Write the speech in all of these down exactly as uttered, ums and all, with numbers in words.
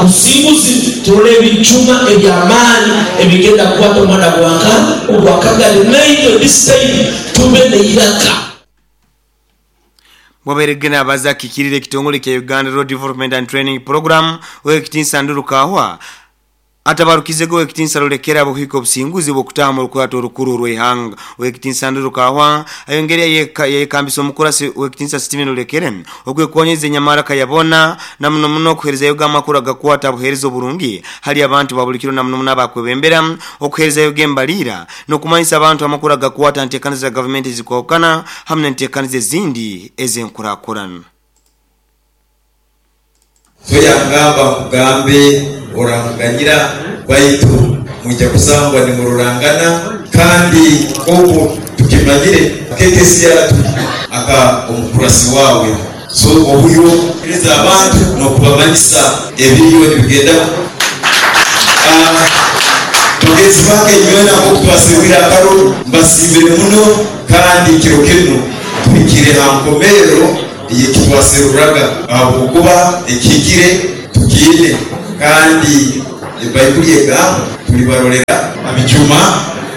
Obusinguzi turole ebijuma ebyamaani ebigenda kukwata omwana gwanka ogwakagari naitwe this time tube neiraka. Waberegena abaza kikirire kitongole kya Uganda Road Development and Training Program wekitinsa Nduru Kahwa atabarukizego wekitinsa Lulekera buhiko obusinguzi bwokutama olukwato olukuru rw'ihanga. Wekitinsa Nduru Kahwa ayongeria yekambisa omukurasi wekitinsa Steven Lulekere okwekonyeza enyamara kayabona na muno muno okuherezayo amakuru agakwata buherezo oburungi hali abantu babulikiro na muno muno abakwebembera okuherezayo gembalira n'okumanyisa abantu amakuru agakwata ntekaniza za gavumenti zikwawukana hamwe n'entekaniza ezindi ez'enkurakurana. Tuyangamba kugambe oranganyira baitu mujja kusangwa ni mururangana kandi obu tukimanyire kekesi yatu aka omukurasi wawe so obuyo eriza abantu n'okubamanyisa ebiriyo nibigenda. Tugezi bange nywena okutwasibira akaro mbasimbire muno kandi kiro kino tuhikire hankomero yekitwaseruraga ahabwokuba ekigire tukiine kandi Baibuli egamba tulibarolera abijuma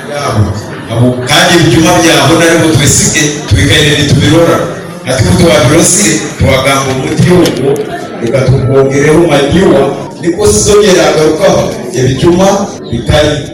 byabo abo kandi ebijuma byabo naribo twesige twikaire nitubirora ati kutwabirosire twagamba omuti ogwo reka tukwongereho manyiwa niko sizongera agarukaho ebijuma bikali.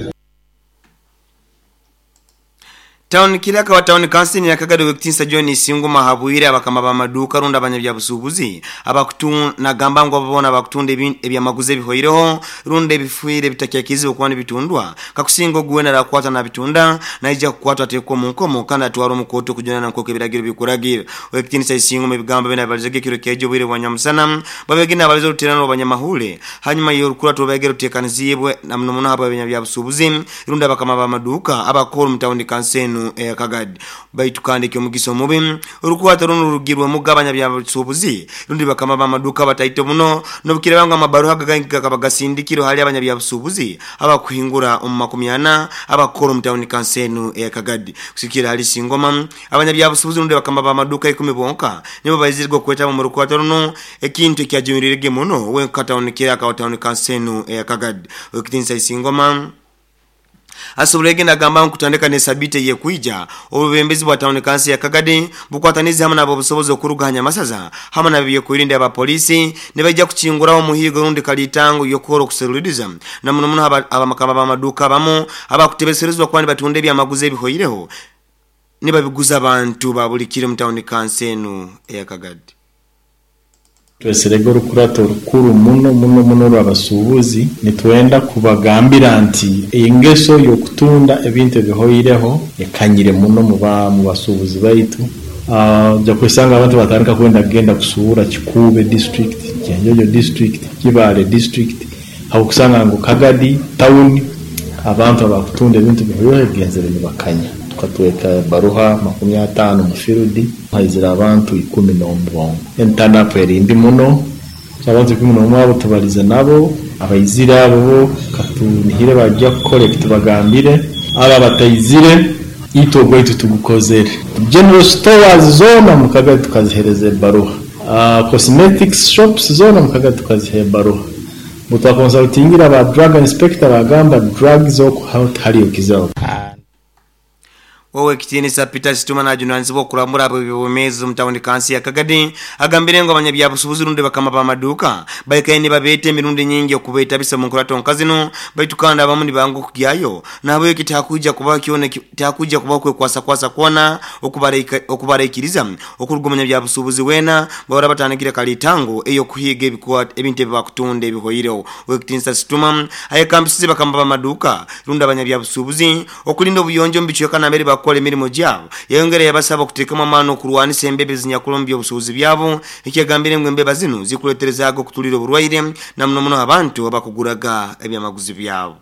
Town Kilaka wa Town Council ya Kagado wekitinsa John Singuma habwire abakama b'amaduka runda abanyabya busubuzi abakutunda gamba ngo babona abakutunda ebyamaguze bihoireho runda ebifuire bitakyakizi okuba bitundwa kakusingo guwena rakwata na bitunda naija kukwata atekwa mu nkomo kandi atwara omukoto kujana na nkoko ebiragiro bikuragira. Wekitinsa Singuma ebigambo bena balizege kiro kejo bwire bwanyamusana babegina abalizo ruterano abanyamahule hanyuma yorukura tubegero tekanizibwe na muno muno habo abanyabya busubuzi runda abakama b'amaduka abakora mu Town Council ya Kagadi baitu kandi kyo mubi urukwata runo rugirwe mugabanya bya busubuzi rundi bakama b'amaduka bataito muno nobukire banga amabaruha gagangika kabagasindikiro hali abanya bya busubuzi abakuhingura omu makumi ana abakora mu Town Council ya Kagadi kusikira hali Singoma abanya bya busubuzi rundi bakama b'amaduka ikumi bonka nibo bayizirwa kweta mu rukwata runo ekintu kyajumirirege muno wenka Town Kiraka Town Council ya Kagadi wekitinsa Singoma asobulege nagamba nkutandika ne sabite ye kuija obubembezi bwa Town Council ya Kagadi bukwataniza hamwe nabo busobozi okuruganya masaza hamwe nabyo kuirinda aba polisi ne bajja kuchingurawo muhigo rundi kalitango yokoro kuseruliriza na muno muno abamakama b'amaduka bamu abakutebeserezwa kwani batunde byamaguze ebihoireho ne babiguza abantu babulikire mu Town Council ya Kagadi. Tweserego rukurato rukuru muno muno muno rw'abasuubuzi nitwenda kubagambira nti engeso yokutunda ebintu ebihoireho ekanyire muno muba mu basuubuzi baitu. Uh, ja kwesanga abantu batandika kwenda kugenda kusuura Kikuube district, Kyenjojo district, Kibaale district, aho kusanga ngo Kagadi town abantu abakutunda ebintu bihoireho genzere nibakanya. Tukatweka baruha makumi atano mu field haizira abantu ikumi n'omubongo entanapo erindi muno abantu ikumi n'omwe abo tubalize nabo abaizira abo katunihire bajya collect bagambire aba batayizire ito gwaitu tugukozere general stores zona mu Kagadi tukazihereza baruha, uh, cosmetics shops zona mu Kagadi tukazihe baruha butwa consultingira ba drug inspector bagamba drugs okuhaliyo kizao. Wowe kitinisa Peter Situma na junanzibo kurambura abo bibomezi mu Town Council ya Kagadi agambire ngo abanyabya busubuzi runde bakama b'amaduka bayikaye babete emirundi nyingi okubeta bisa mu nkurato nkazino baitu kandi abamu nibangu kugyayo nabo kitakuja kuba kione kitakuja kuba kwe kwasa kwasa kona okubareka okubarekiriza okurugumanya bya busubuzi wena bora batanigira kalitango eyo kuhiga ebikuwa ebintu ebibakutunde ebihoireho. Wekitinisa Situma ayekambisize bakama b'amaduka runda abanyabya busubuzi okulinda obuyonjo mbichweka na mbere bakole emirimo gyabo yayongera yabasaba okuteekamu amaani okurwanisa embebe zinyakulombya obusuubuzi byabo ekyagambire ngu embeba zino zikuleeterezaaga okutulira oburwaire na muno muno abantu abakuguraga ebyamaguzi byabo.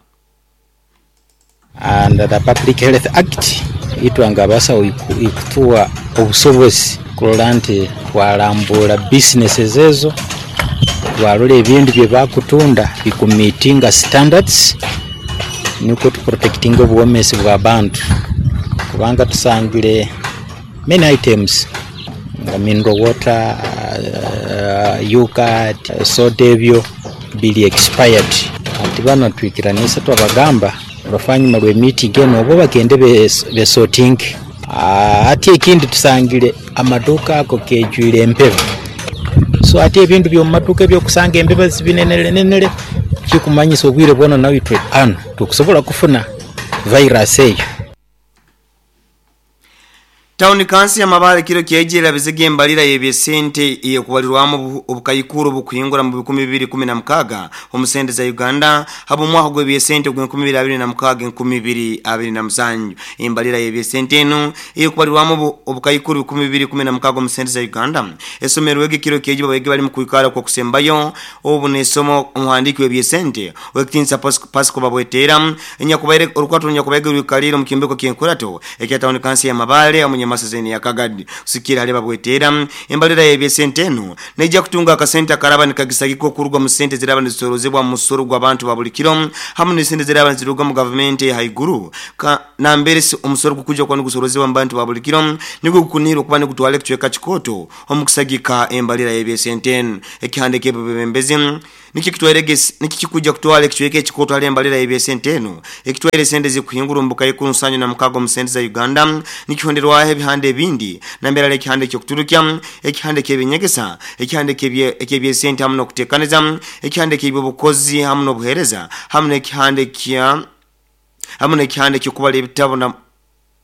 And the Public Health Act itwanga abasawo ikutuwa obusobozi kulola nti twalambula businesses ezo twalola ebintu bye bakutunda bikumeetinga standards niko tuprotectinga obuwomesi bw'abantu kubanga tusangire many items nga mineral water, uh, yogurt, soda ebyo bili expired. Ati bano twikiranisa twabagamba olufanyuma lwe meeting eno obo bagende besorting. Ati ekindi tusangire amaduka ako kejwire empeba, so ati ebintu by'omumaduka ebyokusanga embeba zibinenere kikumanyisa obwire bwona nawe twe ano tukusobola kufuna virus eyo. Town Council ya Mabale kiro kyejera bizige embalira y'ebyesente eyekubalirwamu obukayikuru obukuhingura mu bikumi bibiri kumi na mukaga omusente za Uganda habo mwaka gw'ebyesente ogw'enkumi bibiri abiri na mukaga enkumi bibiri abiri na musanju. Embalira y'ebyesente eno eyekubalirwamu obukayikuru bikumi bibiri kumi na mukaga omusente za Uganda esomerwege kiro kyejiba bwege bali mu kuikara kwa kusembayo obu nesomo omuhandiki w'ebyesente wekitinsa Pasco Babwetera enyakubaire orukwato nyakubaige rukaliro mu kimbeko kyenkurato ekya Town Council ya Mabale omunye masazeni ya Kagadi kusikira aleba bwetera embalira y'ebyesente eno neija kutunga akasente akaraba nikagisagiko kurugwa mu sente ziraba nizisorozebwa mu musoro gw'abantu ba buli kiro hamwe n'esente ziraba niziruga mu gavumenti haiguru nambere omusoro gukuja kwa nigusorozebwa mu bantu ba buli kiro nigwo gukunira okuba nigutwala ekicweka kikoto omukusagika embalira y'ebyesente eno ekihande ky'ebebembezi niki kitwaregesi niki kikuja kutwala ekicweka ekikoto ali embalira y'ebyesente eno ekitwaire sente zikuhingura ombuka y'ekunsanyo na mukago mu sente za Uganda nikihonderwaho ebihande ebindi nambera ekihande ky'okuturukya ekihande ky'ebinyegesa ekihande ky'ebyesente hamwe n'okuteekaniza ekihande ky'ebyobukozi hamwe n'obuheereza hamwe n'ekihande kya hamwe n'ekihande ky'okubala ebitabo na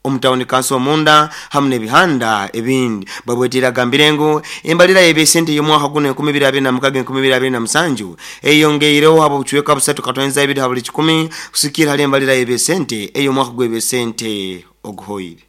omutawuni kanso omunda hamwe n'ebihanda ebindi. Babwetera agambire ngu embalira y'ebyesente y'omwaka guno enkumi bibiri abiri na mukaga enkumi bibiri abiri na musanju eyongeireho habo obucweka busatu katonyeza ibiri ha buli kikumi kusikira hali embalira y'ebyesente ey'omwaka gw'ebyesente oguhoire.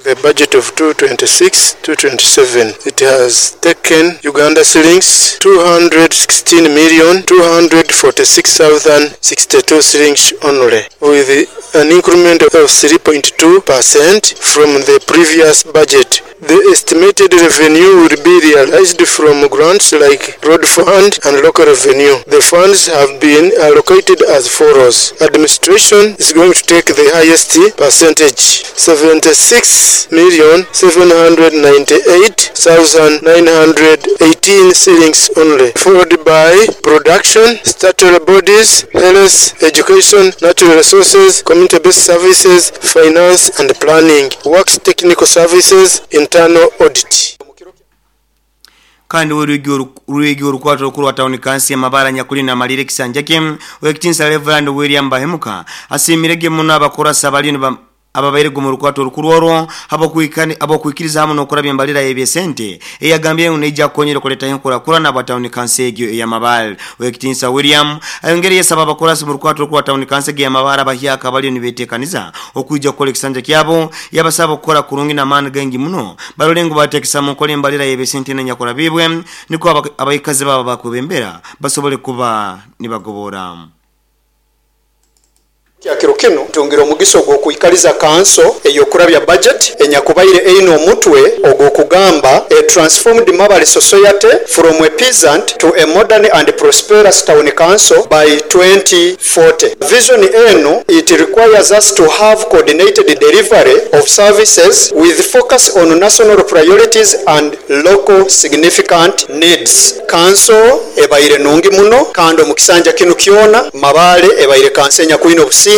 The budget of two twenty-six two twenty-seven, it has taken Uganda shillings two hundred sixteen million two hundred forty-six thousand sixty-two shillings only, with an increment of three point two percent from the previous budget. The estimated revenue will be realized from grants like road fund and local revenue. The funds have been allocated as follows. Administration is going to take the highest percentage, seventy-six million seven hundred ninety-eight thousand nine hundred eighteen shillings only, followed by production, statutory bodies, health, education, natural resources, community-based services, finance and planning, works, technical services, internal audit. Kandi urwigi urukwato rukuru wa Town Council ya Mabara nyakuli na malire kisanjake wekitinsa Reverend William Bahemuka asimirege muno abakorasa bali ababaire mu rukwato rukuru orwo abo kuikani abo kuikiriza hamwe nokurabya embalira y'ebyesente eyagambye neija konyera kuleta enkura kurana aba Town Council egyo eya Mabara. Wekitinsa William ayongere yesaba abakorasi mu rukwato rukuru wa Town Council eya Mabara abahyaka bali nibetekaniza okuija kukola ekisanja kyabo yabasaba okukora kurungi n'amaani gengi muno barolengo batekesa mu nkola embalira y'ebyesente nenyakora bibwe niko abaikazi baba bakubembera basobole kuba nibagobora. Kyakiro kino tungira omugiso ogw'okwikaliza kanso ey'okurabya budget enyakubaire eine omutwe ogw'okugamba a transformed Mabale society from a peasant to a modern and prosperous town council by twenty forty. Vision eno, it requires us to have coordinated delivery of services with focus on national priorities and local significant needs. Kanso ebaire nungi muno kandi omukisanja kino kyona Mabale ebaire kanso enyakwine obusinge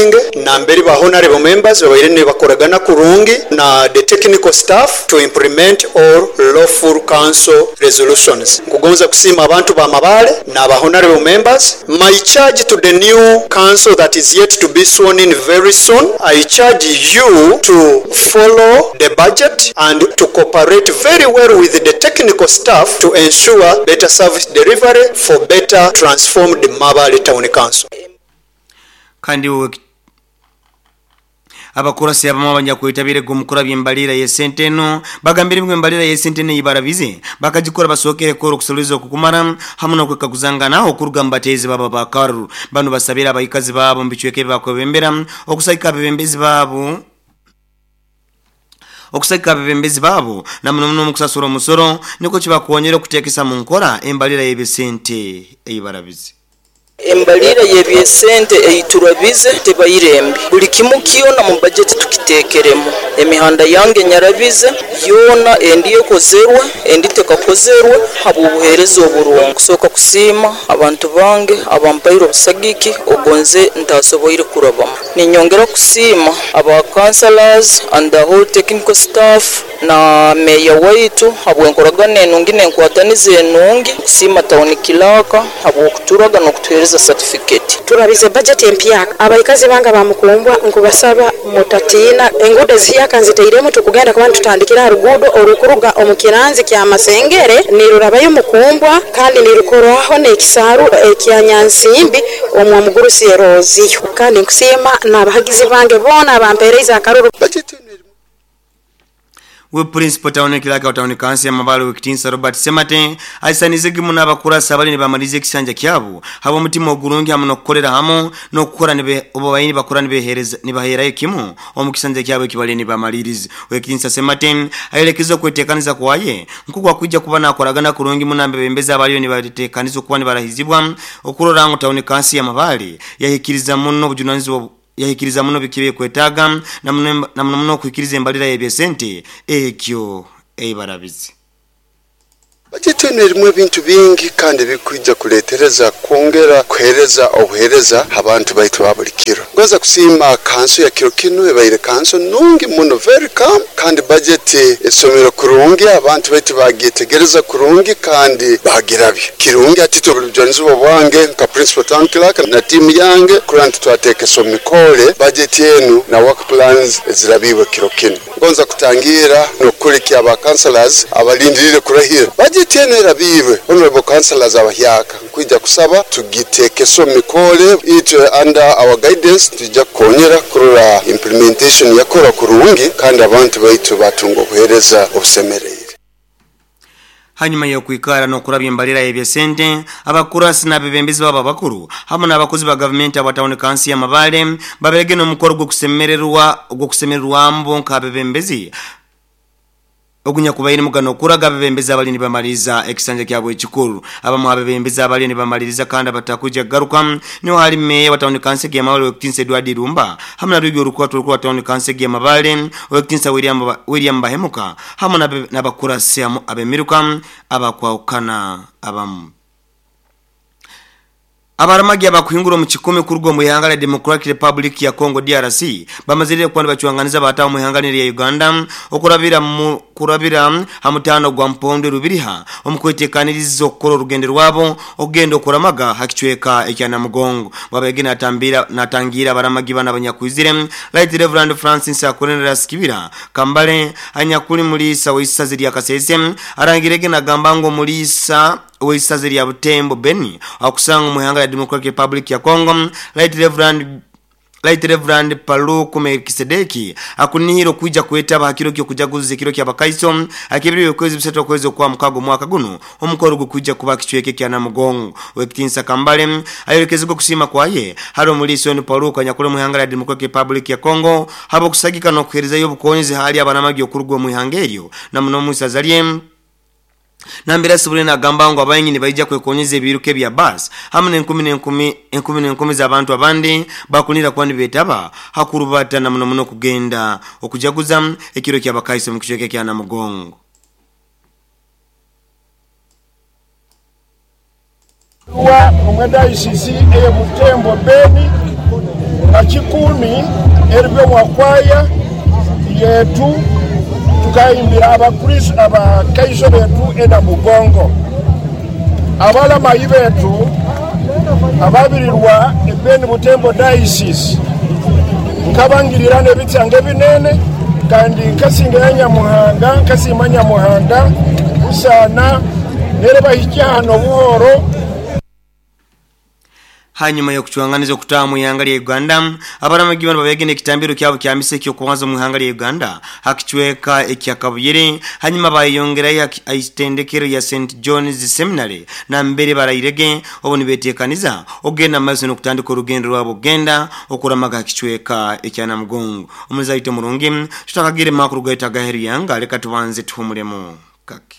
namberi ba honorable members babaire nibakoragana kurungi na the technical staff to implement all lawful council resolutions. Nkugonza kusima abantu ba Mabale na ba honorable members. My charge to the new council that is yet to be sworn in very soon, I charge you to follow the budget and to cooperate very well with the technical staff to ensure better service delivery for better transformed Mabale Town Council. Kandi abakurasi abamu abanyakuitabire gumukura byembalira yesente eno bagambire embalira yesente ne ibarabize bakagikora basokere koro kusuliza okukumara hamwe nokwekaguzangana okuruga mbatezi baba bakaru bano basabira abayikazi babo mbicweke bakwebembera okusayika abebembezi babo okusayika abebembezi babo namuno muno mukusasura omusoro niko kibakonyera okutekesa mu nkora embalira y'ebisente eyibarabize. Embalira y'ebyesente eyiturabize tebairembi buli kimu kyona mu budget tukiteekeremu. Emihanda yange nyarabize yoona endi ekozerwe endi tekakozerwe habw'obuheereza oburungi. Kusooka kusiima abantu bange abampaire obusagiki ogonze ntasoboire kurabamu. Ninyongera kusiima aba councillors and the whole technical staff na meya waitu habw'enkoragana enungi n'enkwataniza enungi. Kusiima town clerk habw'okuturaga n'okutuheereza certificate. Turabize budget empya abaikazi banga bamukumbwa nkubasaba mutatina engudo ziyaka nziteiremu tukugenda kuba tutandikira rugudo orukuruga omukiranzi kya Masengere nirurabayo mukumbwa kandi nirukorwaho n'ekisaru ekyanyansimbi omwa mugurusi eroziyo. Kandi nkusiima n'abahagizi bange bona abampeereza akaruru. We principal town clerk wa town council ya Mabalo Wekitinsa Robert Semate aisanize gimu n'abakurasa abali nibamalize ekisanja kyabo habo omutima ogurungi hamu n'okukolera hamu n'okukora nibe obo bayini bakora nibehereza nibaherayo kimu omukisanja kyabo ekibali nibamalirize. Wekitinsa Semate ayerekeza okwetekaniza kwaye nkugwa kujja kuba nakoragana kurungi munambe bembeza abaliyo nibateekaniza okuba nibarahizibwa okurora ngu town council ya Mabale yahikiriza muno obujunanizibwa yahikiriza muno bikibe kwetaga na muno muno kuhikiriza embalira y'ebyesente ekyo eibarabizi. Bajeti eno erimu ebintu bingi kandi bikwija kuletereza kwongera kuhereza obuhereza abantu baitu ba buli kiro. Ngoza kusiima kanso ya kiro kino ebaire kanso nungi muno, very calm, kandi bajeti esomero kurungi abantu baitu bagyetegereza kurungi kandi bagirabye kirungi. Ati tubulujwanizibwa bwange nka principal town clerk na timu yange kuranta twateekesa omumikole bajeti enu na work plans ezirabiwe kiro kino. Ngonza kutangira n'okukulikia aba councillors abalindirire kurahira bajeti eno erabiwe. Honorable councillors abahyaka nkwija kusaba tugiteekeso mikole itwe under our guidance tujja kukonyera kurora implementation yakora kurungi kandi abantu baitu batunga obuheereza obusemereire. Hanyuma y'okwikara n'okurabya embalira y'ebyesente abakurasi n'abebembezi babo abakuru hamwe n'abakozi ba gavumenti aba town council ya Mabale baberege n'omukoro gw'okusemererwa gw'okusemererwambo nk'abebembezi ogunya kubaire mugano kuraga abebembezi abali nibamaliza ekisanja kyabo ekikuru. Abamu abebembezi abali nibamaliriza kandi abatakuja garuka niho hali meya wa town council ya Mabale Wekitinsa Edward Irumba hamwe na Rwigi Orukwato rukuru wa town council ya Mabale Wekitinsa William William Bahemuka hamwe n'abakurasi abemiruka abakwawukana abamu. Abaramagi abakuhingura mu kikumi kurugo mu ihanga la Democratic Republic ya Congo D R C bamazirire kwandi bachuanganiza batawo mu ihanga lya Uganda okurabira mu kurabira hamutano gwa Mpondo Rubiriha omukwetekanirizo okukora orugendo rwabo ogendo okuramaga hakichweka ekyana mugongo babegena atambira natangira abaramagi bana abanyakwizire Right Reverend Francis Akonera Skibira Kambale anyakuli mulisa weisazi lya Kasese arangirege nagamba ngo mulisa weisazi lya Butembo Beni akusanga mu ihanga la Democratic Republic ya Congo Right Reverend Right Reverend Paluku Melkisedeki akunihiro kuja kuetaba hakiro kyo kujaguza kiro kya bakaiso akibiri kwezi bisatu kwezi kwa mukago mwaka guno omukoro gukuja kuba kichweke kya Namugongo. Wekitinsa Kambale ayolekezwa kusima kwaye haro muliso ni Paluku anyakule mu ihanga la Democratic Republic ya Congo habo kusagika no kuhereza yo bukonzi hali abanamagi okurugwa mu ihanga eryo na muno musazalie Nambira subule na gamba ngo abayinyi nibaija kwekonyeza ebiruke bya bus hamwe n'enkumi n'enkumi enkumi n'enkumi z'abantu abandi bakunira kwani betaba hakurubata na muno muno kugenda okujaguza ekiro kya bakaiso mu kichweke kya Namugongo. Wa omwenda I C C eye Butembo Beni na kikumi eribyo mwakwaya yetu tukayimbira abakristo abakaiso betu ena mugongo abalamayi betu ababirirwa ebeni Butembo diocese nkabangirira n'ebitsange binene kandi nkasinga ya Nyamuhanga nkasima Nyamuhanga usana nere bahikya hano buhoro. Hanyuma yo kuchuanganiza okutaa mu ihanga lya Uganda abaramagi bano babegene ekitambiro kyabo kya mise kyo kuanza mu ihanga lya Uganda hakichweka ekyakabuyere hanyuma bayongerayo aitendekero ya Saint John's Seminary na mbere barayirege obo nibetekaniza ogenda maso no kutandika orugendo rwabo genda okuramaga hakichweka ekyanamugongo. Omuzaito murungi tutakagire makuru gaita gaheri yanga leka tubanze tuhumulemo kake.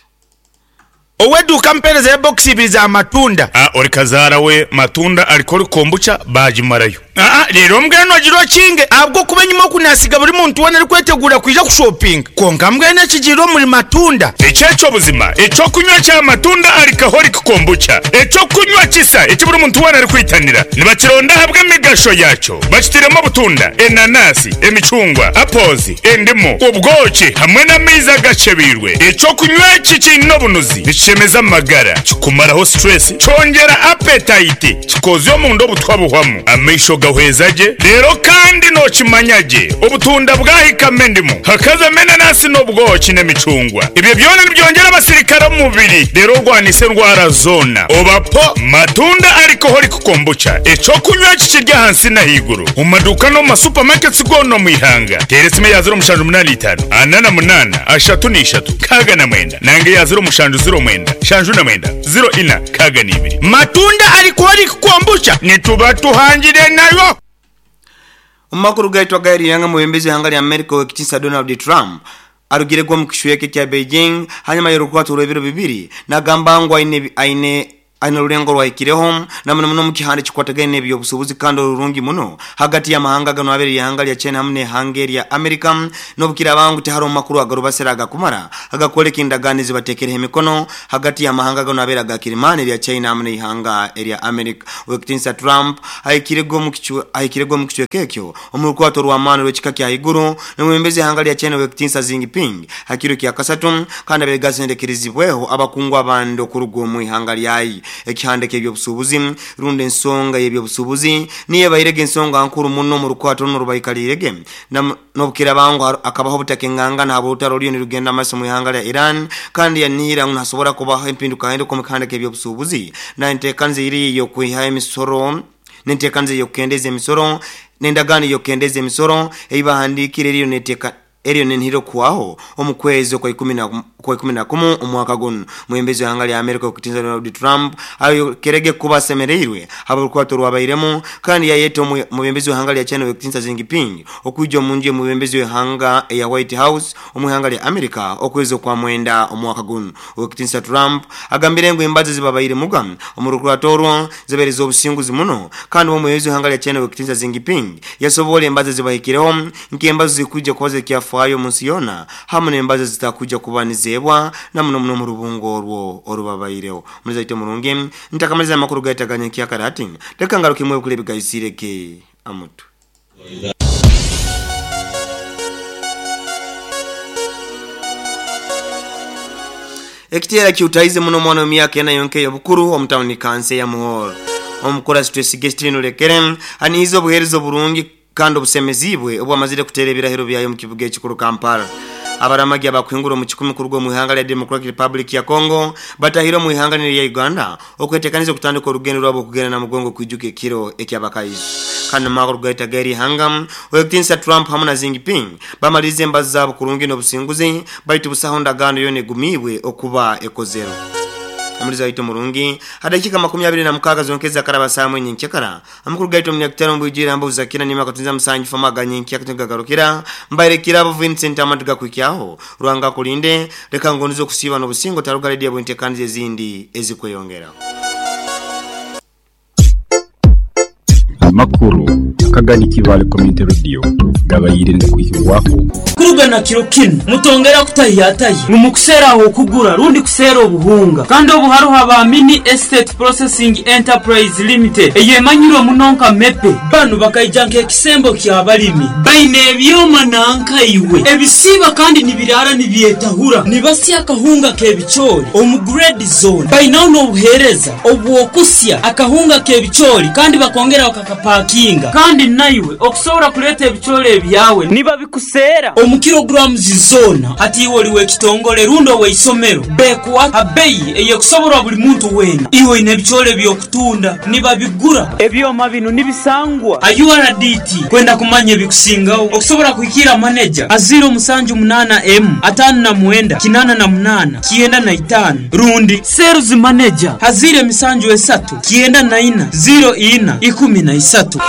Oweduka mpereza ya box ibiri za matunda. Ah, ori kazara we matunda alikori kombucha bajimarayo. Ah, rero mbweno giro kinge abwo kuba nyuma kunasiga buri muntu wona ari kwetegura kuja kushopping. Konka mbwene kigiro muri matunda. Echecho buzima, echo kunywa cha matunda alcoholic kombucha. Echo kunywa kisa ekiburi muntu wona ari kwitanira. Nibakironda habwe migasho yacho. Bakitiremo butunda, enanasi, emicungwa, apples, endimu, ubwoki hamwe n'amaizi agacebirwe. Echo kunywa kikino bunuzi nikishemeza amagara, kikumaraho stress, cyongera appetite, kikozyo mu ndo butwabuhwamu. Amaisho gahwezaje rero kandi nokimanyage obutunda bwahikame ndimu hakaza menanasi n'ubwoki n'emicungwa. Ibyo byona nibyongera abasirikare mu mubiri rero rwanise ndwara zona. Obapo matunda alcoholic kombucha echo kunywa kikirya hansi na higuru mu maduka no mu supermarkets gono mu ihanga. Teresime ya zero mushanju munani itanu anana munana ashatu n'ishatu kaga na mwenda nange ya zero mushanju zero mwenda shanju na mwenda zero ina kaga n'ibiri. Matunda alcoholic kombucha nituba tuhangire nayo. Umakuru gaitwa gairi yanga mubembezi hanga ya Amerika wekitinsa Donald Trump arugire gwa mukishweke kya Beijing hanyuma yorukwatu rwebiro bibiri nagamba ngo aine aine aina rulengo rwahikireho na muno muno mukihande kikwatagene ebyobusubuzi kandi orurungi muno hagati ya mahanga gano abiri yahanga lya China hamwe Hungary ya America nobukira bangu teharo makuru agarubasera agakumara agakoleka indagano zibatekerehe emikono hagati ya mahanga gano abera gakirimani lya China hamwe ihanga lya America. Wekitinsa Trump ahikirego mukichu ahikirego mukichwekekyo omurukwato rwa rw'ekika kya higuru n'umwembezi hanga lya China wekitinsa Xi Jinping hakiro kya kasatu kandi abegasendekerezibweho abakungwa abando kurugo mu ihanga lyayi. Ekihande k'ebyobusubuzi runde ensonga y'ebyobusubuzi niye bayirege ensonga nkuru muno mu rukwato n'urubayikalirege nobukira bangu akabaho butakenganga na habutaro ryo nirugenda amaso mu ihanga lya Iran kandi yanihira ntasobora kubaho impinduka hendo ku mukande k'ebyobusubuzi na entekanze iri yo kwiha emisoro n'entekanze yo kendeza emisoro n'endagano yo kendeza emisoro eyibahandikire riyo neteka eriyo nenhiro kuwaho omukwezi kwa ikumi na kwa ikumi na kumu omwaka guno. Mwembezi wa hanga ya Amerika okutinza Donald Trump ayo kerege kuba semereirwe haburukwato rwabairemu kandi yayeto mubembezi wa hanga ya China okutinza Xi Jinping okujja munje mubembezi wa hanga ya White House omuhanga ya Amerika okwezi kwa mwenda omwaka guno. Okutinza Trump agambire ngo embazi zibabaire muga omurukwato rwo zibereza obusinguzi muno kandi omwezi wa hanga ya China okutinza Xi Jinping yasobole embazi zibahikireho nk'embazi zikujja koze kyafa ayo munsi yona hamwe n'embazi zitakuja kubanizebwa na muno muno mu rubungo orwo orubabaireho. Mulizaite murungi ntakamaliza amakuru gaitaganya kyakarati reka ngaruke mwe kule bigayisireke amutu. Ekitera kiutaize muno mwana w'emyaka ena yonke yobukuru omutawuni kanse ya Muhoro omukora stress gestino lekere anizo buherezo burungi kandi obusemezibwe obwamazire kutera ebirahiro byayo mu kibuga ekikuru Kampala. Abaramagi abakwingura mu kikumi kurugo mu ihanga lya Democratic Republic ya Congo batahiro mu ihanga lya Uganda okwetekaniza okutandika orugendo rwabo kugenda na mugongo kwijuka ekiro ekyabakayizi. Kandi makuru gaita gari hangam wekitinsa Trump hamwe na Xi Jinping bamalize embazi zabo kurungi n'obusinguzi baitu busaho ndagano yone gumibwe okuba ekozero. Amuliza ito murungi hadakika makumi abiri na mukaga zonkeza karaba saa mwenye nchekara amukuru gaito mnyakutano mbujira mbu zakina nima katunza msanji famaga nyenki akatunga garukira mbaire kirabo Vincent amatuga kuikiaho ruanga kulinde reka ngonizo kusiba n'obusingo taruga redia bwente kanzi ezindi ezikweyongera. Amakuru akagani kibale community radio gabayire ndikuhiwako kurugana kiro kino mutongera kutahiyatayi mumukusera aho kugura rundi kusera obuhunga kandi obuharuha ba Mini Estate Processing Enterprise Limited eyemanyirwe munonka mepe banu bakaijanka ekisembo kya balimi baine ebyoma nanka iwe ebisiba kandi nibirara nibyetahura nibasya akahunga kebichori omu grade zone bainaho n'obuhereza obwokusya akahunga kebichori kandi bakongera bakakapakinga kandi naiwe okusobora kuleta ebichori ebyawe niba bikusera omu kilograms zona ati iwe oliwe kitongole rundo weisomero bekuwa abeyi eyekusoborwa buli muntu wena iwe ine ebichori byokutunda niba bigura ebyoma bino nibisangwa U R D T kwenda kumanya ebikusingaho okusobora kuhikira manager aziro musanju munana m atano na mwenda kinana na munana kienda na itano rundi sales manager hazire misanju esatu kienda na ina zero ina ikumi na isatu.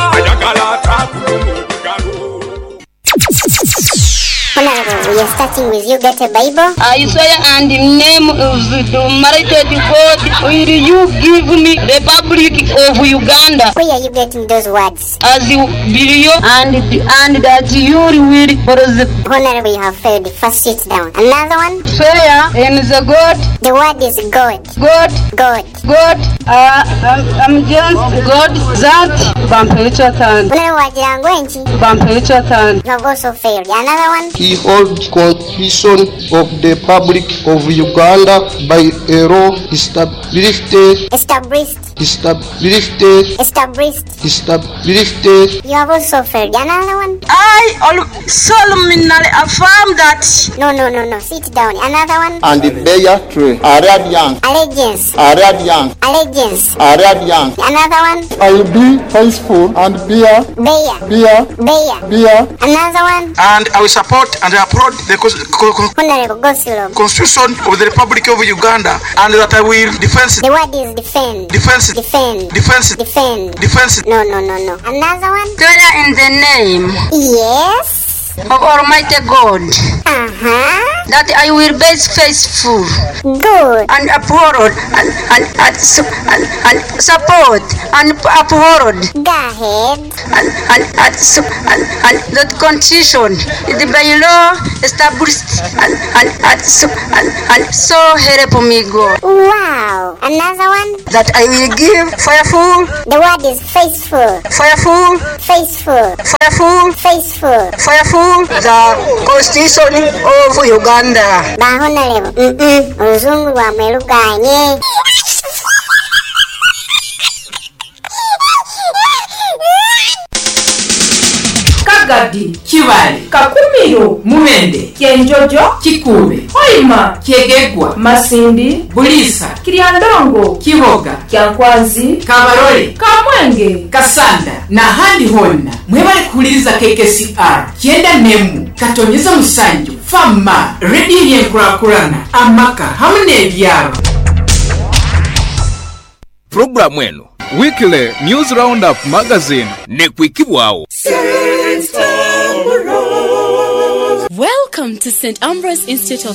Honorable, we are starting with you. Get a Bible. I swear and in name of the Almighty God, will you give me Republic of Uganda? Where are you getting those words? As you billion and and that you will for the Honorable, you have failed. First, sit down. Another one. Swear in the God. The word is God. God. God. God. Uh, I'm, I'm just God that Bampelichatan. Honorable Wajirangwenchi. Bampelichatan. You have also failed. Another one. He holds Constitution of the Republic of Uganda by a law established Established. established Established. established You have also failed. Another one. I solemnly affirm that. No, no, no, no. Sit down. Another one. and bear true Arabian Allegiance. Arabian Allegiance. Arabian Another one. I will be faithful and bear Bear. bear Bear. bear Another one. And I will support and applaud the cons- co- co- Honorable Gosilov. Constitution of the Republic of Uganda and that I will defend The word is defend. defense Defend. defense Defend. defense No, no, no, no. Another one. Swear in the name Yes. of Almighty God Uh-huh. that I will be faithful Good. and uphold and and and, su- and, and support and uphold Go ahead. and and and, su- and, and the constitution the by law established and and and, su- and, and so help me God Wow. Another one. that I will give fearful The word is faithful. fearful Faithful. fearful Faithful. fearful the constitution of Uganda. Ba honorable. Mm-mm. Oluzungu lwamwe luganye. Kagadi, Kibale, Kakumiro, Mubende, Kyenjojo, Kikube, Hoima, Kyegegwa, Masindi, Bulisa, Kiryandongo, Kiboga, Kyankwanzi, Kabarole, Kamwenge, Kasanda n'ahandi honna mwebale kuwuliriza K K C R kyenda nemu katonyeza musanju fama rediyo y'enkulakulana amaka hamu n'ebyalo. Puroguramu eno Weekly News Roundup Magazine nekwikibwawo. Welcome to Saint Ambrose Institute of